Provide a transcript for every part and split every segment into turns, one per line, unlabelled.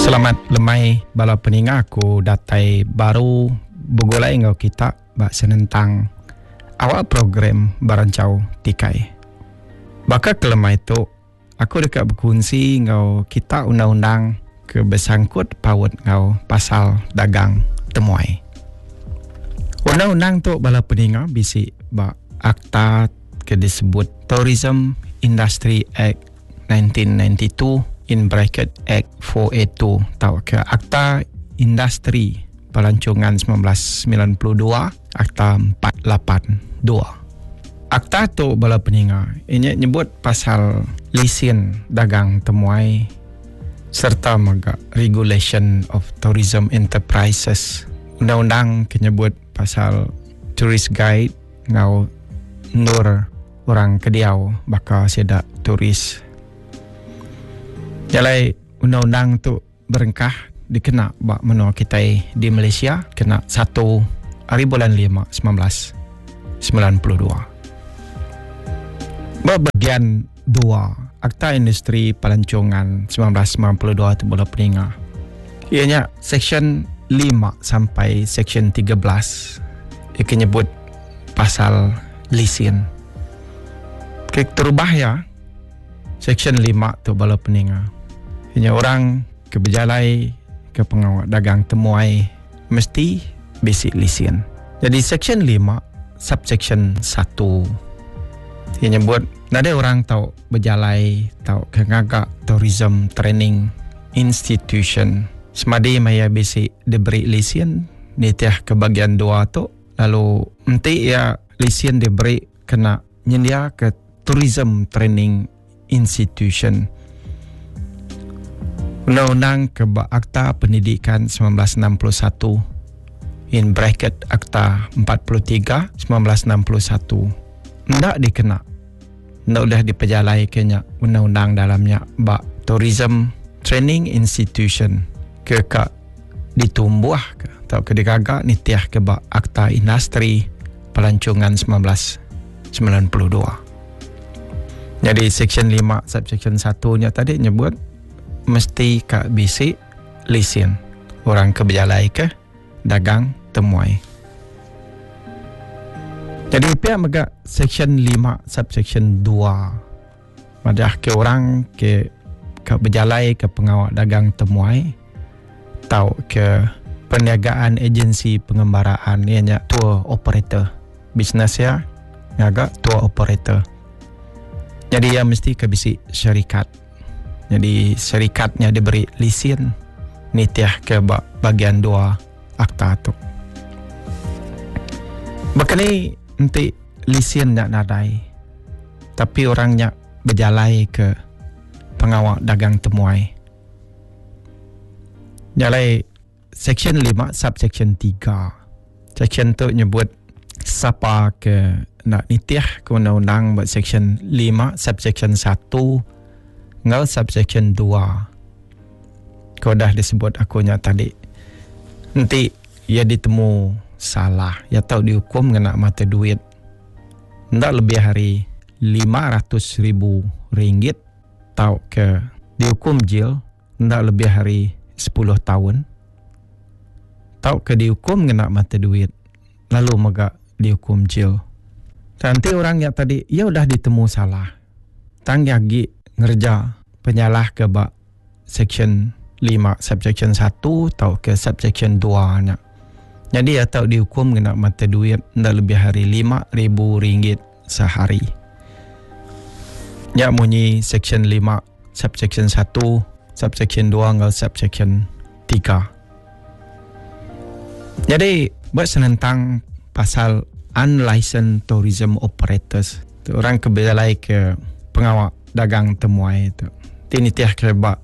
Selamat lemai bala peninga aku datai baru begulai enggau kita ba senentang awak program Berancau Tikai. Baka ke lemai tu aku deka bekunsi enggau kita undang-undang ke besangkut paut enggau pasal dagang temuai. Undang-undang tu bala peninga bisi ba akta ke disebut Tourism Industry Act 1992 in bracket Act 482 tauka Akta Industri Pelancongan 1992 Akta 482. Akta tu bala peninga inya nyebut pasal lisin dagang temuai serta mega Regulation of Tourism Enterprises. Undang-undang ke nyebut pasal tourist guide enggau endur orang ke diau baka sida tourist. Jalai undang-undang tu berengkah dikena ba menua kitai di Malaysia kena satu ari bulan lima 1992. Ba bagian dua Akta Industri Pelancongan 1992 tu bala peninga iya nya seksyen lima sampai seksyen 13 iya ke nyebut pasal lisin. Ke terubah iya, seksyen lima tu bala peninga. Inya orang ke bejalai ke pengawa dagang temuai mesti bisi lisin. Jadi seksyen lima subseksyen satu iya nyebut nadai orang tau bejalai tauka ngaga tourism training institution semadi maya bisi diberi lisin nitih ke bagian dua tu Lalu enti iya lisin diberi kena nyendiaka Tourism Training Institution. Undang-undang ke ba Akta Pendidikan 1961 in bracket Akta 43 1961 enda dikena enda ulih dipejalaika nya undang-undang dalam nya ba Tourism Training Institution ke ka ditumbuhka tauka digaga nitihka ba Akta Industri Pelancongan 1992. Nyadi Seksyen 5 Subseksyen 1 nya tadi nyebut mesti ka bisi lisin orang ke bejalaika dagang temuai. Jadi pia mega Seksyen 5 Subseksyen 2 madah ke orang ke ka bejalai ke pengawa dagang temuai tauka perniagaan agensi pengembaraan iya nya tour operator. Bisnes iya ngaga tour operator. Jadi iya mesti ke bisi syarikat. Jadi syarikat nya diberi lisin nitih ke ba bagian dua akta tu. Baka ni enti lisin nya nadai tapi orang nya bejalai ke pengawa dagang temuai. Nya alai Seksyen lima subseksyen tiga. Seksyen tu nyebut sapa ke enda nitih ke undang-undang ba seksyen lima subseksyen satu enggau subseksyen dua ke udah disebut aku nya tadi. Enti iya ditemu salah, iya tau diukum ngena mata duit enda lebih ari 500,000 ringgit tauka diukum jil enda lebih ari sepuluh taun tauka diukum ngena mata duit lalu mega diukum jil. Tang enti orang nya tadi iya udah ditemu salah tang iya agi ngereja penyalah ke ba seksyen lima subseksyen satu tauka subseksyen dua nya. Nyadi iya tau diukum ngena mata duit enda lebih ari lima ribu ringgit sehari. Nya munyi seksyen lima subseksyen satu, subseksyen dua enggau subseksyen tiga. Nyadi ba senentang pasal unlicensed tourism operators tu orang ke bejalai ke pengawa dagang temuai tu ti nitih ke ba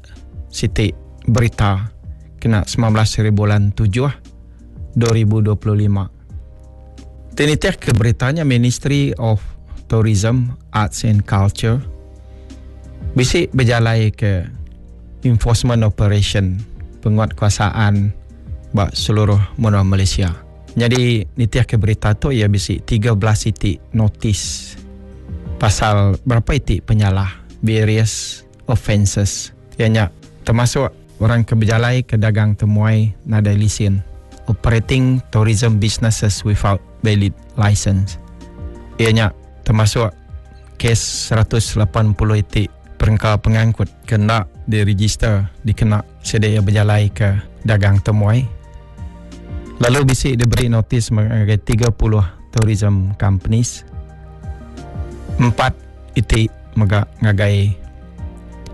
siti berita kena 19 hari bulan 7 2025. Ti nitih ke berita nya Ministry of Tourism, Arts and Culture bisi bejalai ke enforcement operation penguatkuasaan ba seluruh menua Malaysia. Nyadi nitih ke berita tu iya bisi 13 iti notis pasal berapa iti penyalah various offences iya nya termasuk. Orang ke bejalai ke dagang temuai nadai lisin, Operating Tourism Businesses Without Valid Licence, iya nya termasuk kes 180 iti perengka pengangkut ke enda direjister dikena sida iya bejalai ke dagang temuai lalu bisi diberi notis ngagai 30 tourism companies, empat iti mega ngagai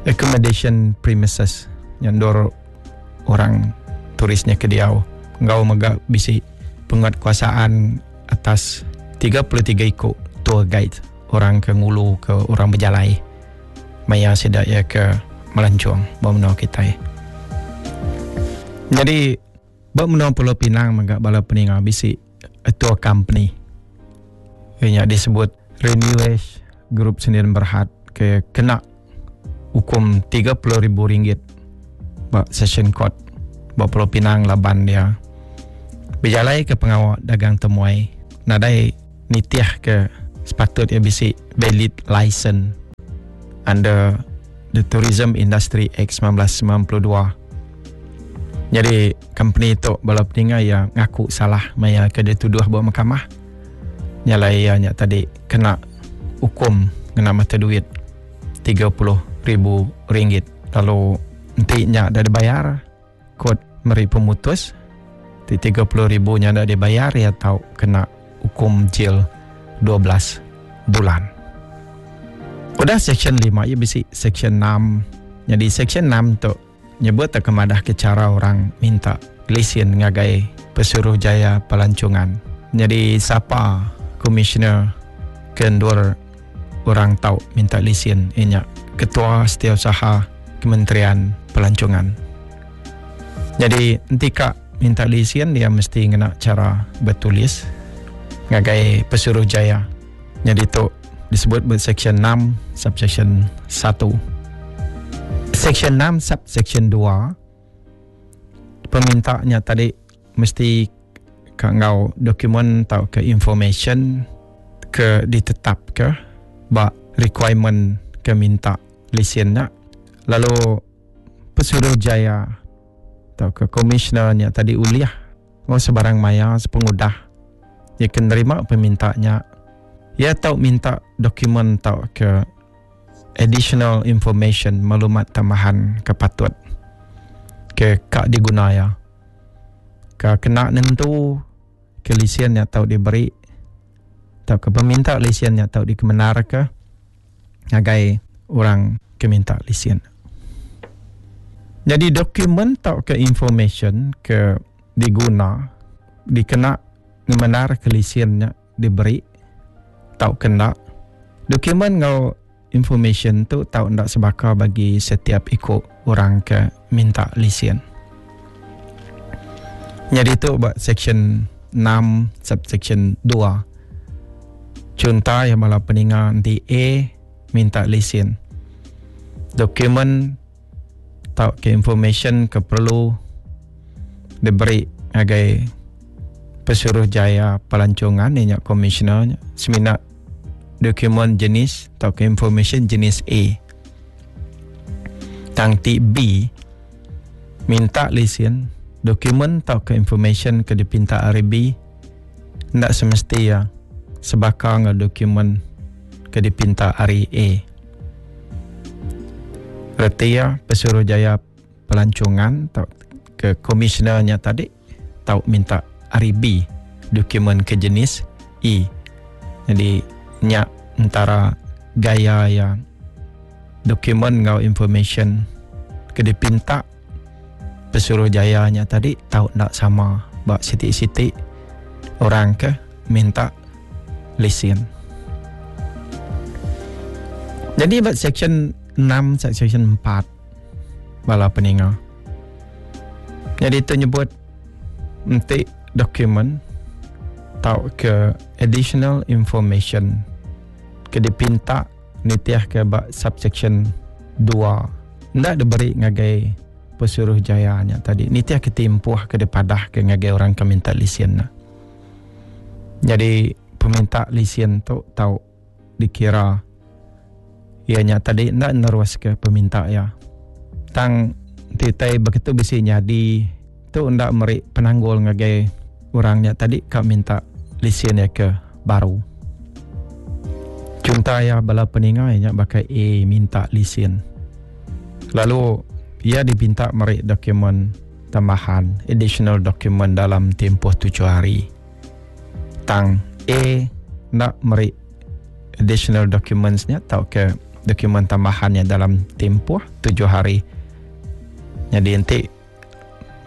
accommodation premises nya endur orang turis nya ke diau enggau mega bisi penguatkuasaan atas 33 iku tour guide orang ke ngulu ke orang bejalai maya sida iya ke melancong ba menua kitai. Nyadi ba menua Pulau Pinang mega bala peninga bisi tour company iya nya disebut Renewage Group Sdn Berhad ke kena ukum 30,000 ringgit ba Session Court ba Pulau Pinang laban iya bejalai ke pengawa dagang temuai nadai nitih ke sepatut iya bisi valid license under the Tourism Industry Act 1992. Nyadi company tu bala peninga iya ngaku salah maya ke dituduh ba mahkamah. Nya alai iya nya tadi kena ukum ngena mata duit 30,000 ringgit lalu enti nya dah dibayar kot meri pemutus ti 30,000 nya enda dibayar iya tau kena ukum jil 12 bulan. Udah seksyen 5 iya bisi seksyen 6. Nyadi seksyen 6 tu nyebut tauka madahka chara orang minta lisin ngagai Pesuruhjaya Pelancongan. Nyadi sapa komisioner ke endur orang tau minta lisin iya nya Ketua Setiausaha Kementerian Pelancongan. Nyadi enti ka minta lisin iya mesti ngena chara betulis ngagai Pesuruhjaya. Nyadi tu disebut ba Seksyen 6 subseksyen 1. Seksyen 6 subseksyen 2 peminta nya tadi mesti ka enggau dokumen tauka information ke ditetapka ba requirement ke minta lisin nya lalu Pesuruhjaya tauka komisioner nya tadi ulih enggau sebarang maya sepengudah iya ke nerima peminta nya iya tau minta dokumen tauka additional information maklumat tambahan ke patut ke ka diguna iya. Ka kena nentu ke lisin nya tau diberi tauka peminta lisin nya tau dikemendarka ngagai orang ke minta lisin. Nyadi dokumen tauka information ke diguna dikena ngemendarka lisin nya diberi tauka enda. Dokumen enggau information tu tau enda sebaka bagi setiap iku orang ke minta lisin. Nyadi tu ba seksyen 6 subseksyen 2. Chunta iya bala peninga enti A minta lisin. Dokumen tauka information ke perlu diberi ngagai Pesuruhjaya Pelancongan iya nya komisioner nya semina dokumen jenis tauka information jenis A. Tang ti B minta lisin dokumen tauka information ke dipinta ari B enda semesti iya sebaka enggau dokumen ke dipinta ari A. Reti iya Pesuruhjaya Pelancongan tauka komisioner nya tadi tau minta ari B dokumen ke jenis E. Jadi nya entara gaya iya dokumen enggau information ke dipinta Pesuruhjaya nya tadi tau enda sama ba siti-siti orang ke minta lisin. Jadi ba seksyen 6 seksyen 4 bala peninga. Nyadi tu nyebut enti dokumen tauka additional information ke dipinta nitihka ba subsection 2 enda diberi ngagai Pesuruhjaya nya tadi nitihka timpuh ke dipadahka ngagai orang ke minta lisin nya. Nyadi peminta lisin tu tau dikira iya nya tadi enda neruska peminta iya. Tang. Enti utai begitu bisi nyadi tu enda meri penanggul ngagai orang nya tadi ka minta lisin iya ke baru. Chunta iya bala peninga iya nya baka A minta lisin lalu iya dipinta meri dokumen tambahan additional document dalam tempoh tujuh hari. Tang A enda meri additional documents nya tauka dokumen tambahan nya dalam tempoh tujuh hari. Nyadi enti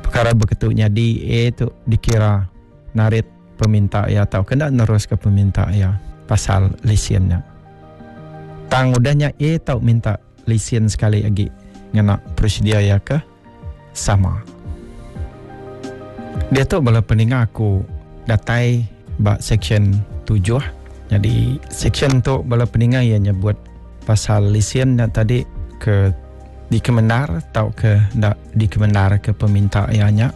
Pekara beketu nyadi A tu dikira narit peminta iya tauka enda neruska peminta iya pasal lisin nya. Tang udah nya A tau minta lisin sekali agi ngena prosedur iya ke sama. Diatu bala peninga aku datai ba seksyen tujuh. Nyadi seksyen tu bala peninga iya nyebut pasal lisin nya tadi ke Dikemendar tauka enda dikemendarka peminta iya nya.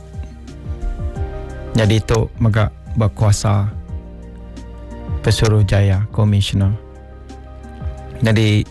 Nyadi tu mega bekuasa Pesuruhjaya Komisioner. Nyadi.